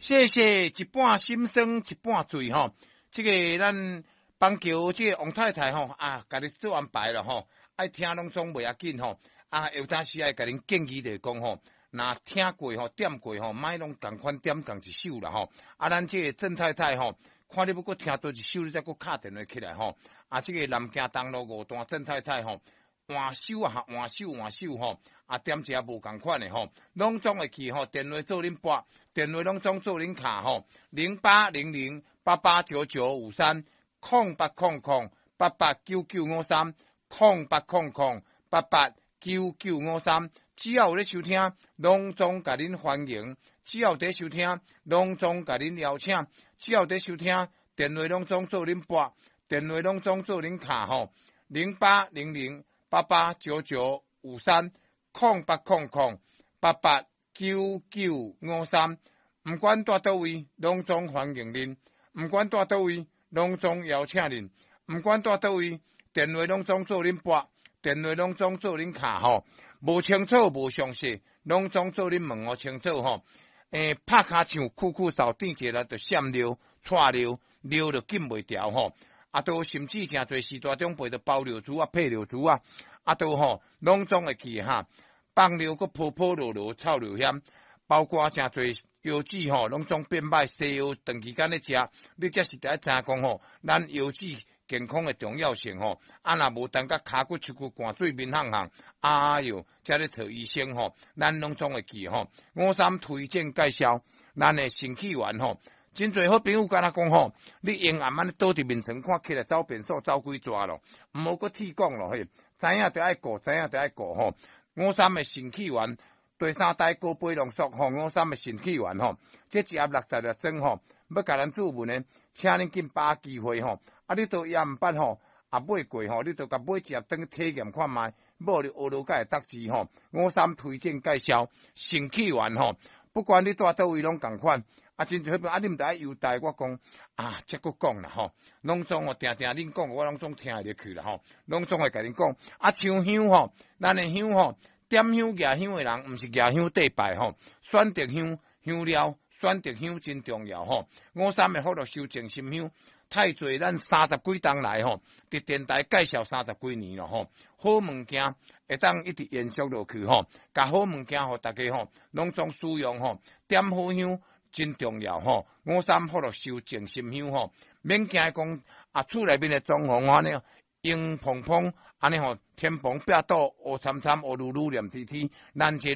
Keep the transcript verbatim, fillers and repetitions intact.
謝謝一半心酸一半醉吼。這個咱板橋這個王太太吼啊，共你做安排了吼，愛聽攏總袂要緊吼。啊，有當時愛共恁建議就是講吼，若聽過吼，點過吼，莫攏仝款點仝一首啦吼。啊，咱這個鄭太太吼，看你欲閣聽佗一首，你才閣敲電話起來吼。啊，這個南京東路五段鄭太太吼，換首啊，換首換首吼，啊，點一下無仝款的吼，攏總會去吼，電話做恁撥，電話攏總做恁敲吼，零八零零八八九九五三，空八空空八八九九五三，空八空空八八九九五三，只要有咧收聽，攏總共恁歡迎；只要佇收聽，攏總共恁邀請；只要佇收聽，電話攏總做恁撥，電話攏總做恁敲吼，零八零零八八九九五三，空八空空八八九九五三，毋管蹛佗位，攏總歡迎恁；毋管蹛佗位，攏總邀請恁；毋管蹛佗位，電話攏總做恁撥，電話攏總做恁敲吼。無清楚無詳細，攏總做恁問予清楚吼。欸，拍跤唱，苦苦嗽，甜一下就閃尿、掣尿，尿就禁袂牢吼。啊，都甚至誠濟時大長輩就包尿珠啊、配尿珠啊，啊都吼攏總會去哈，放尿閣泡泡落落臭尿險，包括誠濟腰子吼，攏總變歹，西藥長期間咧食，你這是著愛知影講吼，咱腰子健康的重要性吼，啊若無等甲跤骨、手骨汗水面烘烘，哎喲，才咧揣醫生吼，咱攏總會記吼。五三推薦介紹，咱的腎氣丸吼，真濟好朋友敢若講吼，你用暗按呢倒佇眠床看起來走便所走幾逝咯，毋好閣鐵講咯嘿，知影著愛顧，知影著愛顧吼。五三的腎氣丸，第三代高倍濃縮吼，五三的腎氣丸吼，這一盒六十粒裝吼，欲共咱注文的，請恁緊把握機會吼。啊，你都猶毋捌吼，啊買過吼，你都共買一盒轉去體驗看覓，無你學落才會得知吼。五三推薦介紹腎氣丸吼，不管你蹛佗位攏仝款。啊，真濟啊，你毋知愛優待我講啊，這閣講啦吼，攏總哦，定定恁講，我攏總聽會入去啦吼，攏總會共恁講。啊，像香吼，咱的香吼，點香舉香的人，毋是舉香綴拜吼，選擇香香料，選擇香真重要吼。五三的福祿壽靜心香，太濟咱三十幾冬來吼，佇電台介紹三十幾年咯吼，好物件會當一直延續落去吼，共好物件予大家吼，攏總使用吼，點好香真重要吼。五三福祿壽靜心香吼，免驚講啊，厝內面的裝潢按呢黃蓬蓬，按呢吼天蓬壁倒烏參參烏嚕嚕黏貼貼，咱這